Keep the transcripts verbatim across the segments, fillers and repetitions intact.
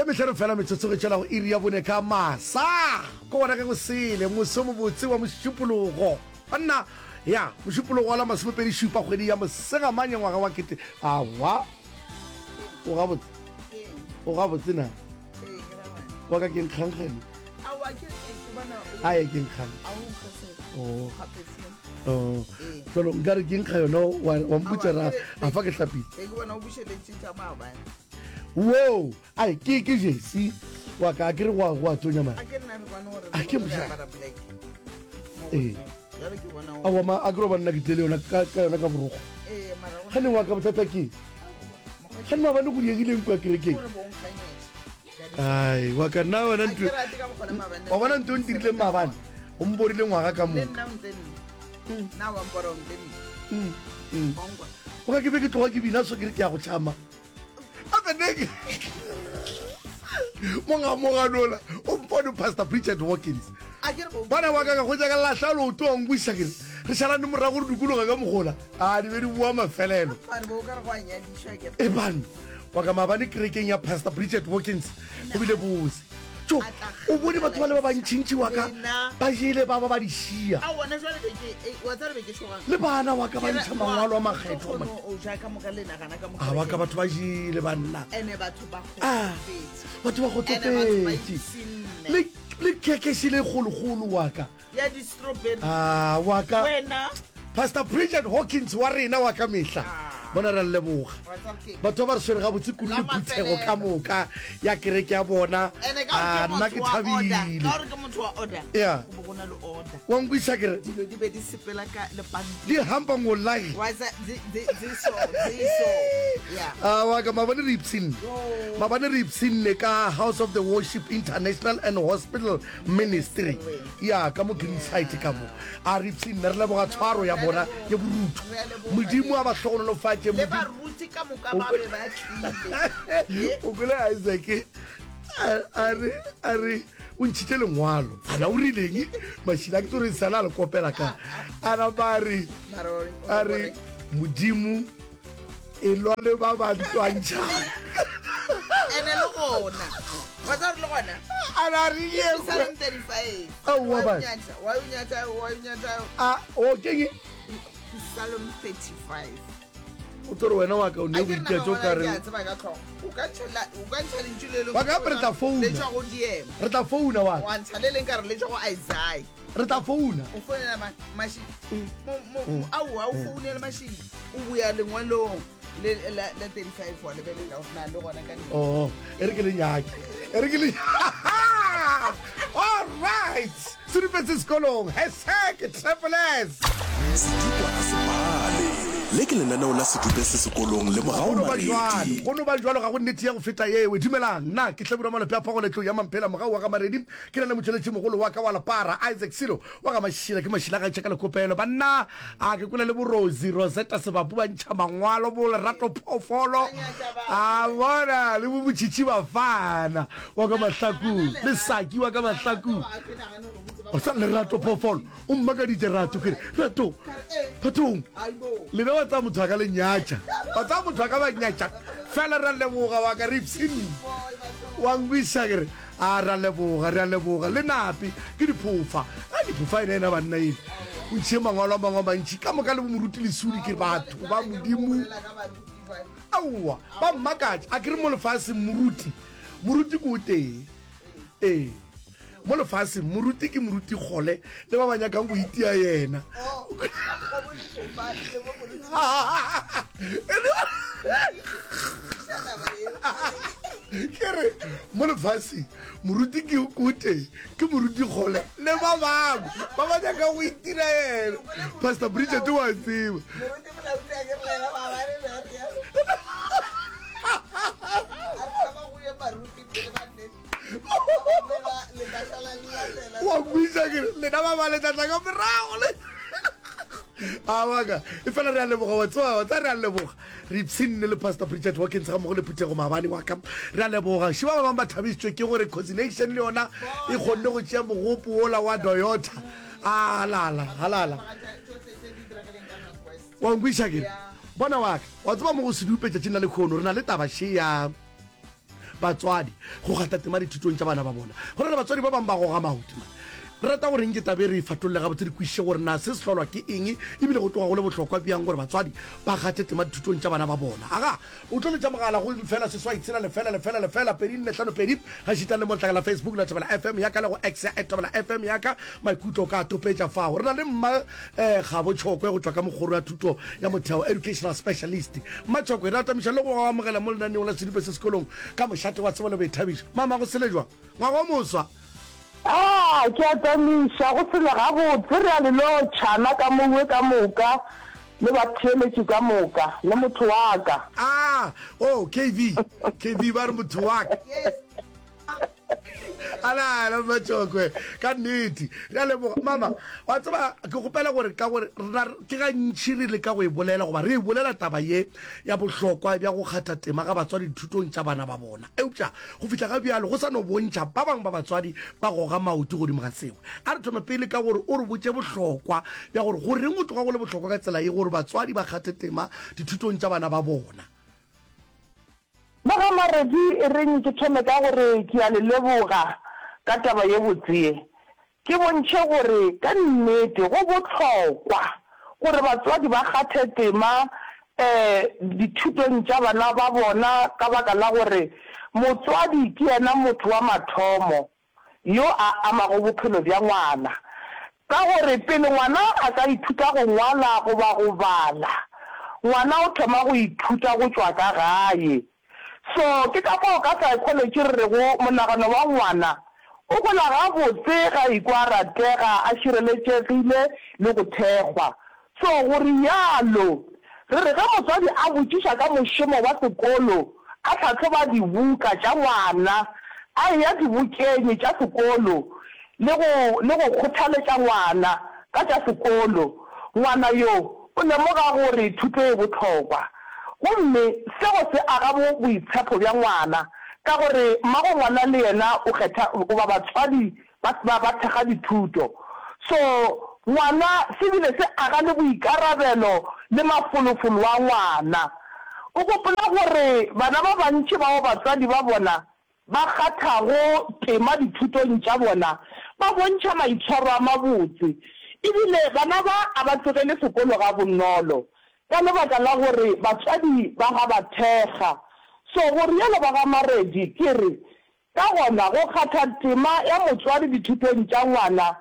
mehlano fela metsotso go tšwela go iri ya bone ka masa. Ko gona ge go sele moso mobotse wa mošupologo. Banna, ya, mošupologo wa la masomepedi šupa kgwedi ya Mosegamanye ngwaga wa kete. Awa. O gabotse. O gabotse na? Wa ka ke nkgangkgane. Aye ke nkgang. Oh. Oh. Jalo nkare ke nkga yona wa wa mpotša ra a fa ke hlapile. Ke bona o bušeletše tša maabane. Wo, ai ke ke jesi wa ka ke re go go a tonya man. A ke nna re kwane gore A ke re moša. apara black. Mo Ee. godimo. Jwale ke bona o- Aowa ma a ke roba nna ke tlele yona ka ka yona ka borokgo. Ee, mara go Gane wa ka bothata ke. Gane maabane go diegileng kwa kerekeng. gore bo nkganyetše. Ai wa ka nna wena A ntho ke rate ka mokgwa le maabane. wa bona ntho o ntirileng maabane. O mporile ngwaga ka Le moka. nna o ntle nna. Nna wa mpora o ntle nna. Mm, mm. Wa nkwa. O ka ke be ke tloga ke bina so ke re ke ya go tšhama. Gape ne ke mongamoganola o mpone Pastor Bridget Hawkins. A ke re bo Bana wa ka ka hwetša ka lahla leoto wa nkweša ke re re šalane morago re dikologa ka mogola. A di be di boa mafelelo. Mare bo o ka re go a nyadišwa ke E bana wa ka maabane kerekeng ya Pastor Bridget Hawkins go bile bose. Tjo, o bone batho ba le ba bantšintši wa ka ba jele ba ba ba di šia. A wona jwale be ke eh, wa tseba be ke tšhogang. Le bana wa ka ba ntšha mangwalo a makgethwa. man. O ja ka moka le nagana ka moka. A wa ka batho ba jele banna. Ene batho ba Ah, kgotsofetse. batho ba Ene batho ba kgotsofetše. ipshinne. Le le khekhe le kgolokgolo wa ka. Ya di-strawberry. Ah, wa ka. Wena. Pastor Bridget Hawkins wa rena wa ka mehla. Bona re a leboga. Wa tseba ke eng? Batho ba ba re swere gabotse kudu le La phuthego ka mafelelo. moka ya kereke ya bona. Ene ka Ah, gore nna ke ke motho wa order. thabile. Ka gore ke motho wa order. Yeah. Go bo go na le order. Wa nkweša ke re Dilo di be di sepela ka lepantiri. di hampa ngolai. Wa tsa di di di so di so. Yeah. Ah, wa ka maabane re ipshinne. Maabane re ipshinne ka House of the Worship International and Hospital Ministry. Ya ka mo Greenside ka mo. A re ipshinne re leboga tshwaro ya bona ye borutho. Modimo a ba hlogonolofatše. Le Modimo baruti ka moka ba be ba tlile. o kwele Isaac a a re a re o ntšhitše lengwalo ana o rileng mašila ke tsore sala a le kopela ka a napa a re Mara o- o a re modimo e lwa le ba ba ntwantšhang Ene le gona. Wa tseba gore le gona. a na re yengwe Psalm thirty-five. Aowa, Wa o ba. nyatša, wa o nyatša, wa o nyatša. a o keng Psalm thirty-five. o tsore wena wa ka o ne A o ke re itetše o nagana ka ke re a tseba ka tlhogo. O ka ntšha la- o ka ntšha lentšu le lengwe Wa ka re tla founa. le tšwa go D M. Re tla founa wa ka. Wa ntšha le leng ka re le tšwa go Isaiah. Re tla founa. O founela ma- maši- mo- mo- mo- aowa, o founele mašidi. O boya lengwalong le la la thirty-five wa lebelela gore na le gona ka nnete. Oh, e re ke le nyake. E re ke le All right. Sedupetse sekolong. Hashtag Triple S. Sedikwa ga se pale. Le ke lenaneo la Sedupe se sekolong le Mogau Go no ba jwalo, Maredi. go no ba jwalo, ga go nnete ya go feta yeo. Dumelang, nna ke Hlabirwa Malope a Phagoletlo ya Mamphela, Mogau wa ga Maredi. Ke na le motšweletšimogolo wa ka wa lepara, Isaac Silo wa ga Mašila. Ke Mašila ga tšeka lekopelo. Banna, a ke kwele le bo Rosie, Rosetta Sebapu ba ntšha mangwalo, bo Lerato Phoofolo, a bona, le bo Motšhitšhi Bafana wa ka Mahlakung, le Saki wa ka Mahlakung. O sa Lerato Phoofolo, o mmakaditše Rato, ke re, Rato, bathong, lena wa tsaya motho a ka le nyatša, wa tsaya motho a ka ba nyatša, fela ra leboga wa ka re ipshinne, wa nkwiša ke re, a ra leboga, re a leboga, le nape, ke diphofa, a diphofa ena ena banna ele, o ntšhie mangwalo a mangwe a mantši, ka moka le bo moruti Lesudi ke batho ba Modimo, aowa, ba mmakatša, a ke re mo lefaseng moruti, moruti ke o tee, ee. Mo lefaseng, moruti ke moruti kgole le ba ba nyakang go itia yena. Ke re, mo lefaseng, moruti ke o tee, ke moruti kgole le ba bangwe ba ba nyakang go itira yena. Pastor Bridget wa tseba. Wa nkweša ke re, lena ba ba le tla tla ka morago le. A waka, e fela re a leboga, wa tseba, wa tseba re a leboga. Re ipshinne le Pastor Bridget Watkins ga mmogo le phuthego maabane wa ka. Re a leboga. Še ba bangwe ba thabišitšwe ke gore Cosination le yona e kgonne go tšea mogopo wola wa Toyota. A lala, halala. Wa nkweša ke re, bona wa ka, wa tseba mo go sedupe tšatšing la lekhono re na le taba še ya batswadi go kgatha tema dithutong tša bana ba bona. Go na le batswadi ba bangwe ba goga maoto man. Re rata gore nke taba e re e fatolle gabotse re kwešiše gore na se se hlolwa ke eng ebile go tloga go le bohlokwa bjang gore batswadi ba kgathe tema dithutong tša bana ba bona. Aga, o tlo letša mogala go lefela seswai tshela lefela lefela lefela pedi nne hlano pedi gaešita le mo letlakala la Facebook la Thobela F M ya ka le go X ya at Thobela F M ya ka. Maikutlo o ka a topetša fao. Re na le Mma Kgabo Tšhokwe go tšwa ka Mokgoro ya Thuto ya Motheo, Educational Specialist. Mma Tšhokwe, re atamiša le go go amogela mo lenaneong la Sedupe se Sekolong ka mošate wa tsebo le boithabišo. Mama, go sele jwang? Ngwaga o moswa! A, ke atamiša, go sele gabotse, re a le lotšha, na ka mowe ka moka, le batheeletši ka moka, le motho wa ka. A, oh, K V, K V ba re motho wa ka. Yes. Ala, ala, Mmatšhokwe, ka nnete. Re a leboga. Mama, wa tseba, ke kgopela gore ka gore rena ke gantši re leka go e bolela goba re e bolela taba ye ya bohlokwa bja go kgatha tema ga batswadi dithutong tša bana ba bona. Eupša go fihla ga bjalo go sa no bontšha ba bangwe ba batswadi ba goga maoto godimo ga seo. A re thome pele ka gore o re botše bohlokwa bja gore goreng go tloga go le bohlokwa ka tsela ye gore batswadi ba kgathe tema dithutong tša bana ba bona. Ba ga Maredi, e reng ke thome ka gore ke a le leboga ka taba ye botse ye. Ke bontšhe gore ka nnete go bohlokwa gore batswadi ba kgathe tema dithutong tša bana ba bona ka baka la gore motswadi ke yena motho wa mathomo yo a amago bophelo bja ngwana. Ka gore pele ngwana a ka ithuta go ngwala goba go bala, ngwana o thoma go ithuta go tšwa ka gae. So ke ka fao ka psychology re rego monagano wa ngwana o gola gabotse ge a ikwa a ratega, a šireletšegile le go thekgwa. So go realo, re re ge motswadi a botšiša ka mošomo wa sekolo, a hlahloba dibuka tša ngwana, a eya dibokeng tša sekolo le go le go kgothaletša ngwana ka tša sekolo, ngwana yo o lemoga gore thuto e bohlokwa. Gomme seo se aga bo boitshepo bja ngwana, ka gore mmago ngwana le yena o kgetha goba batswadi ba ba ba thekga dithuto. So ngwana se bile se aga le boikarabelo le mafolofolo a ngwana. O gopola gore bana ba bantši bao batswadi ba bona ba kgathago tema dithutong tša bona ba bontšha maitshwaro a mabotse. E bile bana ba a ba tlogele sekolo gabonolo ka lebaka la gore batswadi ba ga ba thekga. So go realo ba ga Maredi ke re Ka gona, go kgatha tema ya motswadi dithutong tša ngwana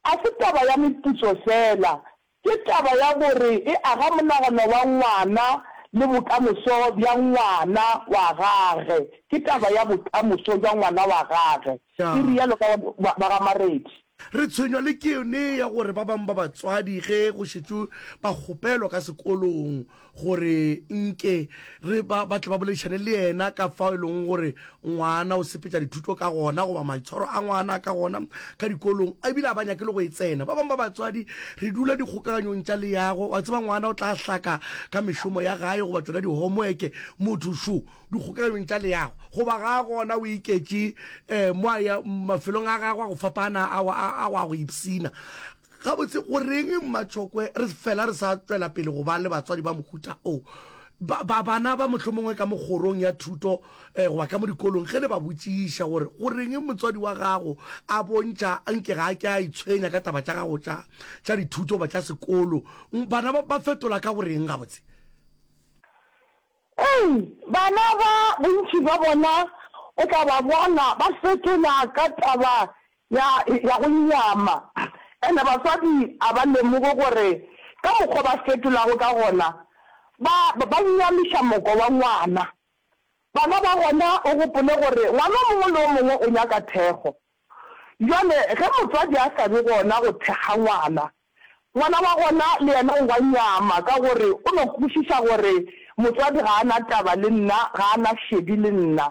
a se taba ya meputso feela, ke taba ya gore e aga monagano wa ngwana le bokamoso bja ngwana wa gage. Ke taba ya bokamoso bja ngwana wa gage. Ke realo ka ba ga Maredi. Re tshwenywa le ke yone ya gore ba bangwe ba batswadi ge go šetšwe ba kgopelwa ka sekolong gore nke re ba, ba tle ba boledišane le yena ka fao e leng gore ngwana o sepetša dithuto ka gona goba maitshwaro a ngwana ka gona ka dikolong, ebile a ba nyake le go e tsena. Ba bangwe ba batswadi re dula dikgokaganyong tša leago, wa tseba ngwana o tla hlaka ka mešomo ya gae goba tšona di-homework, motho šo dikgokaganyong tša leago goba ga a gona o iketše um mo a ya mafelong a gagwe a go fapana a, a, a go a go ipshina. Gabotse, go reng Mmatšhokwe re fela re sa tšwela pele go ba le batswadi ba mohuta o? Ba, ba, bana ba mohlomongwe ka mo kgorong ya thuto eh, goba ka mo dikolong, ge le ba botšiša gore go reng motswadi wa gago a bontšha nke ga a ke a itshwenya ka taba tša gago tša, tša dithuto goba tša sekolo, bana ba, ba fetola ka go reng gabotse? Ei, bana ba, bontši bja bona o tla ba bona ba fetola ka taba ya, ya go nyama. And batswadi a ba lemoge gore ka mokgwa ba fetolago ka gona, ba, ba nyamiša moko wa ngwana. Bana ba gona o gopole gore ngwana o mongwe le o mongwe o nyaka thekgo. Bjale ge motswadi a sa be gona go thekga ngwana, ngwana wa gona le yena o wa nyama ka gore o no kwešiša gore motswadi ga a na taba le nna, ga a na šedi le nna.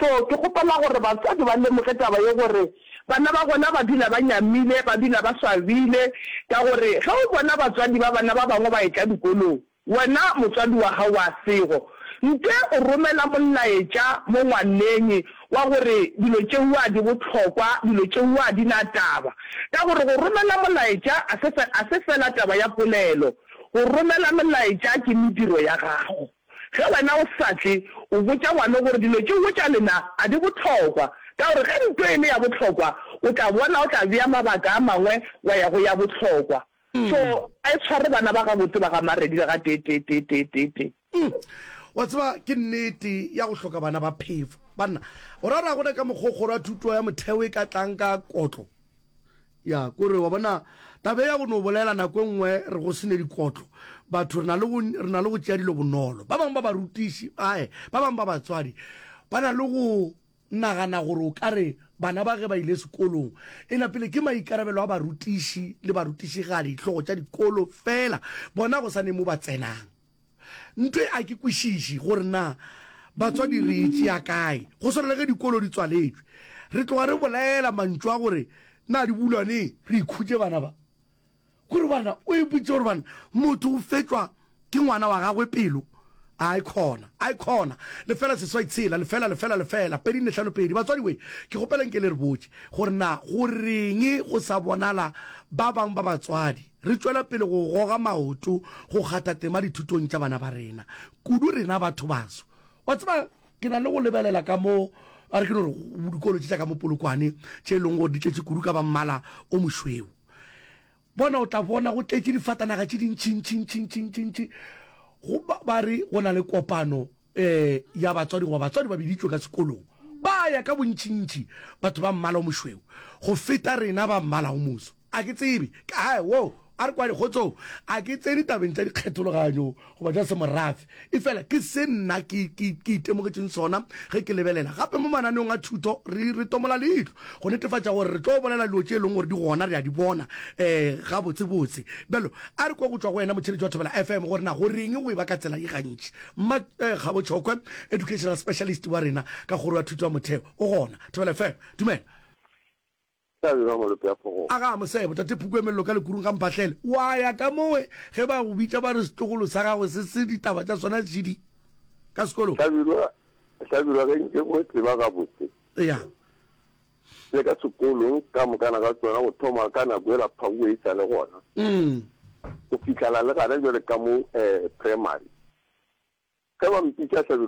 So ke kgopela gore batswadi ba lemoge taba ye gore bana ba gona ba dula ba nyamile, ba dula ba swabile ka gore ge o bona batswadi ba bana ba bangwe ba etla dikolong, Wena motswadi wa gago wa sego, nte o romela molaetša mo ngwaneng wa gore dilo tšeua di bohlokwa, dilo tšeua di na taba. Ka gore go romela molaetša a se, a se fela taba ya polelo. Go romela melaetša ke mediro ya gago. Ge wena o sa tle, O botša ngwana gore dilo tšeo tša lena a di bohlokwa, ka gore ge nto e le ya bohlokwa, o tla bona o tla bea mabaka a mangwe wa ya go ya bohlokwa. So a e tshware bana ba gabotse ba ga Maredi le ga tee tee tee tee tee tee. Wa tseba, ke nnete ya go hloka bana ba phefo. Banna, o ra gore ga gona ka mokgwa o kgoro ya thuto ya motheo e ka tlang ka kotlo? Ya, kore wa bona, taba ye ya go no bolela nako e nngwe re go se ne dikotlo, batho re na le go, re na le go tšea dilo bonolo. Ba bangwe ba barutiši, ae, ba bangwe ba batswadi ba na le go nagana gore o ka re bana ba ge ba ile sekolong, e napile ke maikarabelo a barutiši le barutišigadi, dihlogo tša dikolo feela, bona go sa ne mo ba tsenang. Ntho e a ke kwešiše gore na batswadi re e tšea kae. Go swana le ge dikolo di tswaletšwe, re tloga re bolela mantšu a gore na di bulwa neng, re ikhutše bana ba. Kore bana, o ipotše gore bana, motho o fetšwa ke ngwana wa gagwe pelo. Ai khona, ai khona. Lefela seswai tshela, lefela, lefela, lefela, pedi nne hlano pedi. Batswadi we, ke kgopela nke le re botše gore na go reng go sa bonala ba bang ba batswadi re tšwela pele go goga maoto go kgatha tema dithutong tša bana ba rena, kudu rena batho baso. Wa tseba, ke na le go lebelela ka mo, a re ke no re, dikolo tše tša ka mo Polokwane, tše e leng gore di tletše kudu ka ba mmala o mošweu. Bona, o tla bona go tletše difatanaga tše dintši-ntši-ntši-ntši-ntši. Go ba, ba re go na le kopano um ya batswadi goba batswadi ba biditšwe ka sekolong. Ba ya ka bontši-ntši batho ba mmala o mošweu go feta rena ba mmala o moso. A ke tsebe, ka, wo, a re kwane, kgotsong, a ke tsene tabeng tša dikgethologanyo goba tša semorafe, efela ke se nna ke, ke, ke itemogetšeng sona ge ke lebelela. Gape mo mananeong a thuto re, re tomola leihlo go netefatša gore re tlo bolela dilo tše e leng gore di gona, re a di bona um gabotsebotse. Bjalo, a re kwe go tšwa go wena motheeletši wa Thobela F M gore na go reng go eba ka tsela ye gantši. Mma eh, Kgabo Tšhokwe, educational specialist wa rena ka Kgoro ya Thuto ya Motheo, o gona. Thobela F M, dumela. Tla malope a phogong. Aga Mosebo, Tate Phuku e mello ka lekurung ga Mphahlele. Wa ya ka mowe ge ba go bitša ba re setlogolo sa gago se se ditaba tša sona šidi ka sekolong. Hlabirwa, Hlabirwa ge nke go tseba gabotse. Ya. Le ka sekolong ka mokana ga tsona go thoma ka nako ela Phaue e sa le gona. Go fihlela le gana bjale ka mo primary. Ge ba mpitša Hlabirwa